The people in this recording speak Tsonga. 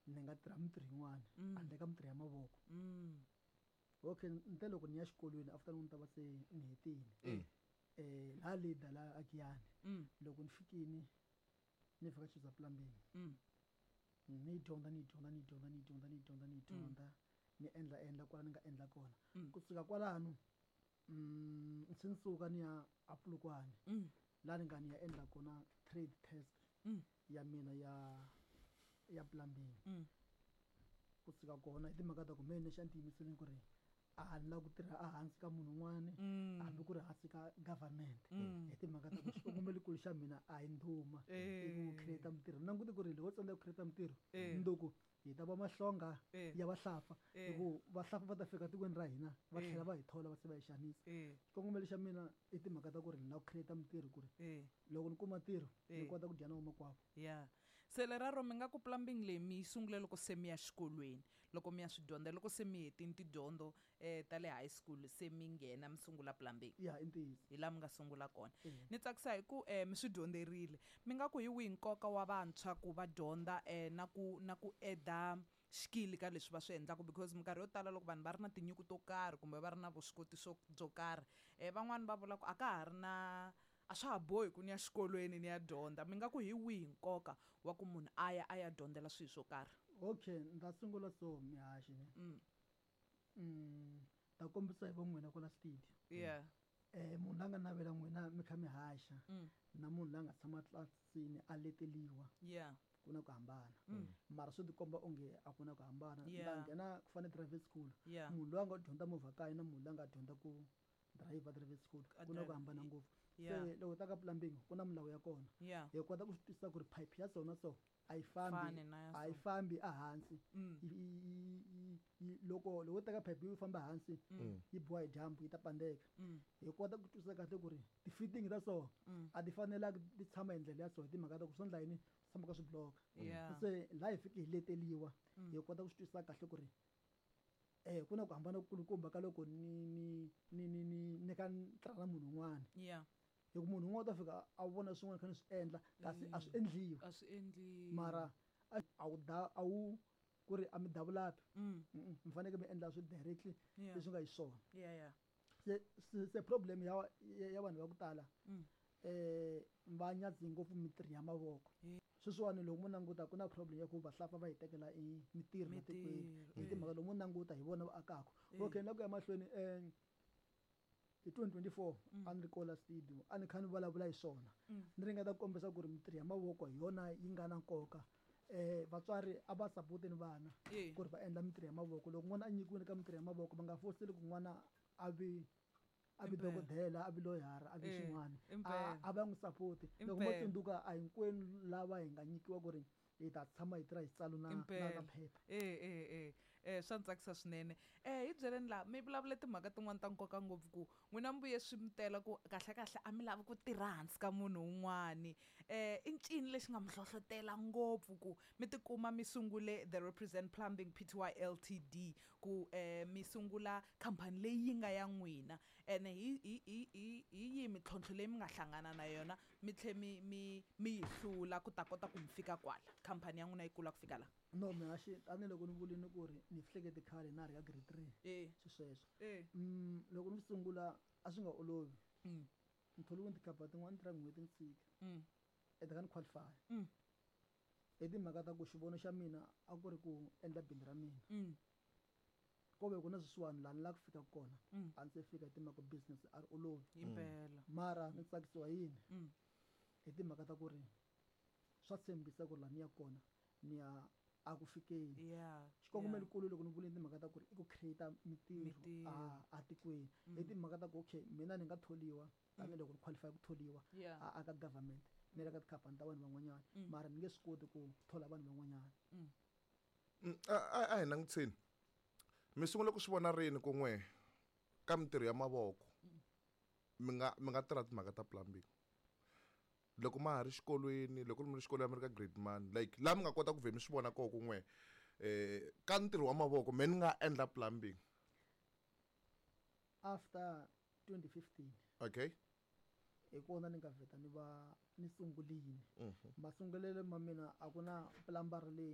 Ni nga tirha mintirho yin'wana handle ka mintirho ya mavoko. Okay, nte loko ni ya xikolweni after ni ta va se ni hetile laha leader laha a Giyani, loko ni fikini ni fika Chiza Plumbing, ni yi dyondza, ni yi dyondza, ni yi dyondza, ni yi dyondza, ni yi dyondza, ni yi dyondza, ni endla endla kwala ni nga endla kona. Kusuka kwalano se ni suka ni ya a Polokwane, laha ni nga ni ya endla kona trade test ya mina ya plumbing. Kusuka kona hi timhaka ta ku me lexi a ni tiyimiseleni ku ri a ni lava ku tirha ehansi ka munhu un'wani, hambi ku ri hansi ka government, hi timhaka ta ku xikongomelokulu xa mina a hi ndhuma, i ku create mintirho. Ni langute ku ri loko tsandzeka ku create mintirho, mundzuku hi ta va mahlonga ya vahlampfa, hi ku vahlampfa va ta fika tikweni ra hina va tlhela va hi thola, va se va hi xanisa. Xikongomelo xa mina i timhaka ta ku ri ni lava ku create mintirho, ku ri loko ni kuma ntirho ni kota ku dya na vamakwavo. Ya, se leraro mi nga ku plumbing leyi mi yi sungule loko se mi ya xikolweni, loko mi ya swi dyondza, loko se mi hetini tidyondzo ta le high school, se mi nghena mi sungula plumbing? Ya, i ntiyiso. Hi laha mi nga sungula kona. Ni tsakisa hi ku mi swi dyondzerile. Mi nga ku hi wihi nkoka wa vantshwa ku va dyondza na ku eda xikili ka leswi va swi endlaka? Because minkarhi yo tala loko vanhu va ri na tinyiko to karhi kumbe va ri na vuswikoti swo byo karhi, van'wani va vula ku a ka ha ri na, a swa ha bohi ku ni ya xikolweni ni ya dyondza. Mi nga ku hi wihi nkoka wa ku munhu a ya dyondzela swilo swo karhi? Okay, ni ta sungula so, mihaxi ne ta kombisa hi vo n'wina kwala studio. Munhu la nga navela n'wina mi kha mi haxa na munhu la nga tshama tlilasini a leteliwa, ku na ku hambana, mara swi tikomba onge a ku na ku hambana. La nghena ku fana driving school, munhu loyi a nga dyondza movha kaya na munhu loyi a nga dyondza ku driver driving school, ku na ku hambana ngopfu. Se loko ta ka plumbing, ku na milawu ya kona. Hi kota ku swi twisisa ku ri pipe ya so na so a yi fambi, Fani na ya a yi so. Fambi ehansi. Loko teka pipe yi famba hansi, yi biwa hi dyambu, yi ta pandeka. Hi kota ku twisisa kahle ku ri ti-fitting ta so a ti fanelanga ti tshama hi ndlela ya so, hi timhaka ta ku swi endla yini, swi tshama ka swi block. Se laha hi fike hi leteliwa, hi kota ku swi twisisa kahle ku ri ku na ku hambana kulukumba ka loko ni kha ni tirha na munhu un'wana, hi ku munhu un'wana u ta fika a vona swin'wana kha ni swi endla kasi a swi endliwi. A swi endliwi. Mara a wu da a wu ku ri a mi davulapi, mi fanekele mi endla swi directly leswi nga hi swona. Se problem ya vanhu va ku tala, va nyadzi ngopfu mintirho ya mavoko. Sweswiwani loko mo languta, ku na problem ya ku vahlampfa va hi tekela i mintirho la tikweni, Mintirho, hi timhaka loko mo languta hi vona va akaka. Okay, na ku ya mahlweni, hi 2024 a ni ri kola studio, a ni kha ni vulavula hi swona, ni ringeta ku kombisa ku ri mintirho ya mavoko hi yona yi nga na nkoka. Vatswari a va sapoteni vana ku ri va endla mintirho ya mavoko. Loko n'wana a nyikiwile ka mintirho ya mavoko, va nga foseli ku n'wana a vi dokodela, a vi loyara, a vi xin'wana. A va n'wi sapoti. Loko mo tsundzuka, a hinkwenu lava hi nga nyikiwa ku ri hi ta tshama hi tirha hi xitsalo na phepha. E swa ni tsakisa swinene. Hi byeleni laha mi vulavule timhaka tin'wani ta nkoka ngopfu, ku n'wina mi vuye swi mi tela ku kahle kahle a mi lavi ku tirha hansi ka munhu un'wani. I ncini lexi nga mi hlohlotela ngopfu ku mi tikuma mi sungule The Represent Plumbing Pty Ltd, ku mi sungula khampani leyi yi nga ya n'wina? Ene hi yihi mintlhontlho leyi mi nga hlangana na yona, mi tlhe mi yi hlula ku ta kota ku mi fika kwala, khampani ya n'wina yi kula ku fika laha? No, mihaxi, tanihiloko ni vulini ku ri ni hlekete khale na ha ri ka grade 3, swi sweswo. Loko ni sungula a swi nga olovi. Ni tholiwe tikhampani tin'wana, ni tirha n'hweti ni tshika, ende ka ni qualify, hi timhaka ta ku xivono xa mina a ku ri ku endla bindzu ra mina. Ko ve ku na sweswiwani laha ni lava ku fika kona, a ndzi se fika, hi timhaka business a ri olovi. Impela. Mara ni tsakisiwa yini? Hi timhaka ta ku ri swa tshembisa ku ri laha ni ya kona ni ya a ku fikeni. Xikongomelokulu, loko ni vulini timhaka ta ku ri i ku create mintirho Mintirho. a tikweni, hi timhaka ta ku okay, mina ni nga tholiwa tanihiloko ni qualify ku tholiwa a ka government ni le ka tikhampani ta vanhu van'wanyana, mara ni nge swi koti ku thola vanhu van'wanyana. A hi langutiseni, mi sungule ku swi vona rini ku n'we ka mintirho ya mavoko mi nga tirha timhaka ta plumbing? Loko ma ha ri xikolweni, loko mi ri xikolweni, mi ri ka grade man, like laha mi nga kota ku vhe mi swi vona kona ku n'we ka ntirho wa mavoko me ni nga endla plumbing? After 2015. Hi kona ni nga vheta ni va ni sungulini. Masungulelo ma mina a ku na plumber leyi.